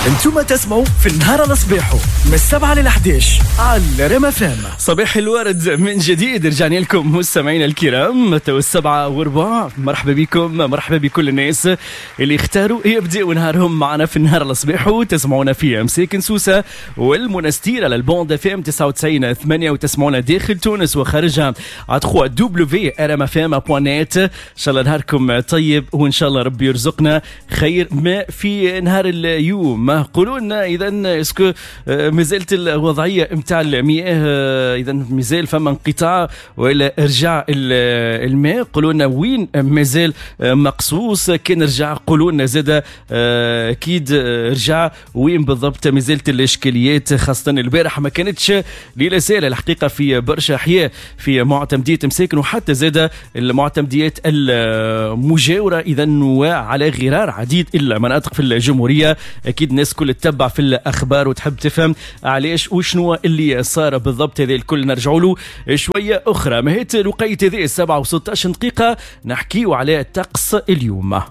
انتم تسمعوا في النهار على صباحه من 7 ل 11 على رام FM. صباح الورد من جديد، رجعنا لكم مستمعينا الكرام تو 7:15. مرحبا بكم، مرحبا بكل الناس اللي اختاروا يبدأوا نهارهم معنا في النهار على صباحه. تسمعونا في مساكن سوسة والمنستير على ال bande FM 99.8، وتسمعونا داخل تونس وخارجها على 3w.rmfm.net. ان شاء الله نهاركم طيب، وان شاء الله ربي يرزقنا خير ما في نهار اليوم. قولوا لنا اذا est-ce que مازالت الوضعية نتاع المياه، اذا مازال فما انقطاع ولا رجع الماء؟ قولوا لنا وين مازال مقصوص، كان رجع قولوا لنا زاد اكيد رجع وين بالضبط مازالت الاشكاليات، خاصة البارح ما كانتش ليلة سهلة الحقيقة في برشا احياء في معتمديه مساكن وحتى زاد المعتمديات المجاورة، اذا وعلى غرار عديد المناطق في الجمهورية. اكيد الناس كل تتبع في الاخبار وتحب تفهم علاش وشنو اللي صار بالضبط. هذا الكل نرجعوا له شوية اخرى. مهيت الوقيت هذه 7:16 نحكيو على طقس اليوم.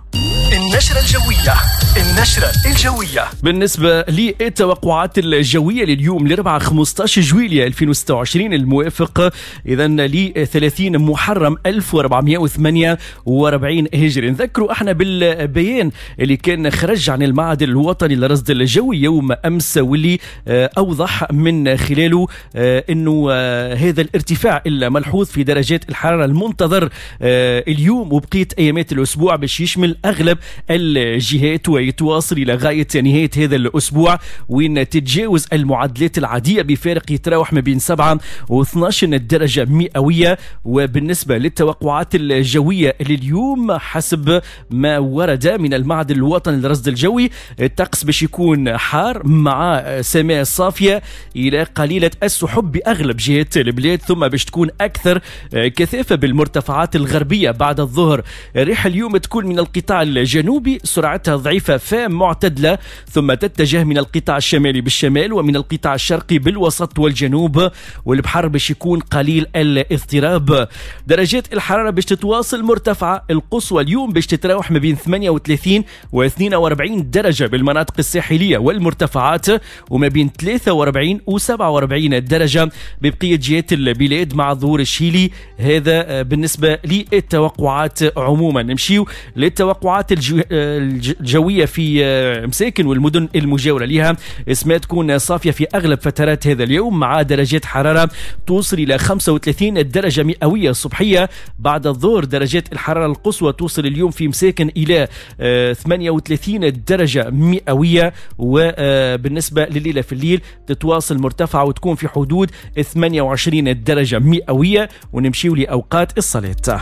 النشرة الجوية، النشرة الجوية. بالنسبة للتوقعات الجوية لليوم الأربعاء 15 جويلية 2026 الموافق إذا ل 30 محرم 1448 هجري. نذكروا احنا بالبيان اللي كان خرج عن المعهد الوطني للرصد الجوي يوم أمس، واللي أوضح من خلاله أنه هذا الارتفاع الملحوظ في درجات الحرارة المنتظر اليوم وبقية أيامات الأسبوع باش يشمل أغلب الجهات ويتواصل إلى غاية نهاية هذا الأسبوع، وين تتجاوز المعدلات العادية بفارق يتراوح ما بين 7 و 12 درجة مئوية. وبالنسبة للتوقعات الجوية لليوم حسب ما ورد من المعهد الوطني للرصد الجوي، الطقس باش يكون حار مع سماء صافية إلى قليلة السحب بأغلب جهات البلاد، ثم باش تكون أكثر كثافة بالمرتفعات الغربية بعد الظهر. الريح اليوم تكون من القطاع الجنوبي سرعتها ضعيفة فمعتدلة، ثم تتجه من القطاع الشمالي بالشمال ومن القطاع الشرقي بالوسط والجنوب، والبحر باش يكون قليل الاضطراب. درجات الحرارة باش تتواصل مرتفعة القصوى اليوم باش تتراوح ما بين 38 و 42 درجة بالمناطق الساحلية والمرتفعات، وما بين 43 و 47 درجة ببقية جهات البلاد مع ظهور الشيلي. هذا بالنسبة للتوقعات عموما. نمشيو للتوقعات الجوية في مساكن والمدن المجاورة لها. اسمها تكون صافية في أغلب فترات هذا اليوم مع درجات حرارة توصل إلى 35 درجة مئوية صبحية. بعد الظهر درجات الحرارة القصوى توصل اليوم في مساكن إلى 38 درجة مئوية، وبالنسبة لليلة في الليل تتواصل مرتفعة وتكون في حدود 28 درجة مئوية. ونمشيو لأوقات الصلاة.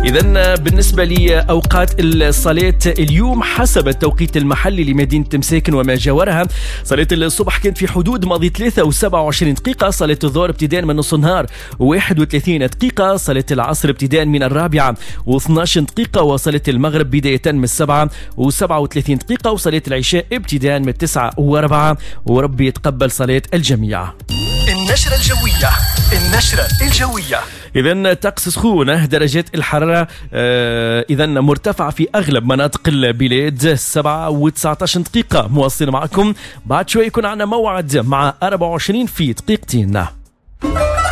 إذن بالنسبة لأوقات الصلاة اليوم حسب التوقيت المحلي لمدينة مساكن وما جاورها، صلاة الصبح كانت في حدود ماضي 3:27، صلاة الظهر ابتداء من نص النهار 31، صلاة العصر ابتداء من 4:12، وصلاة المغرب بداية من 7:37، وصلاة العشاء ابتداء من 9:04. وربي يتقبل صلاة الجميع. النشرة الجوية، النشرة الجوية. إذن طقس سخون، درجات الحرارة إذن مرتفعة في أغلب مناطق البلاد. 7:19 مواصلين معكم بعد شوي، يكون عندنا موعد مع 24 في دقيقتين.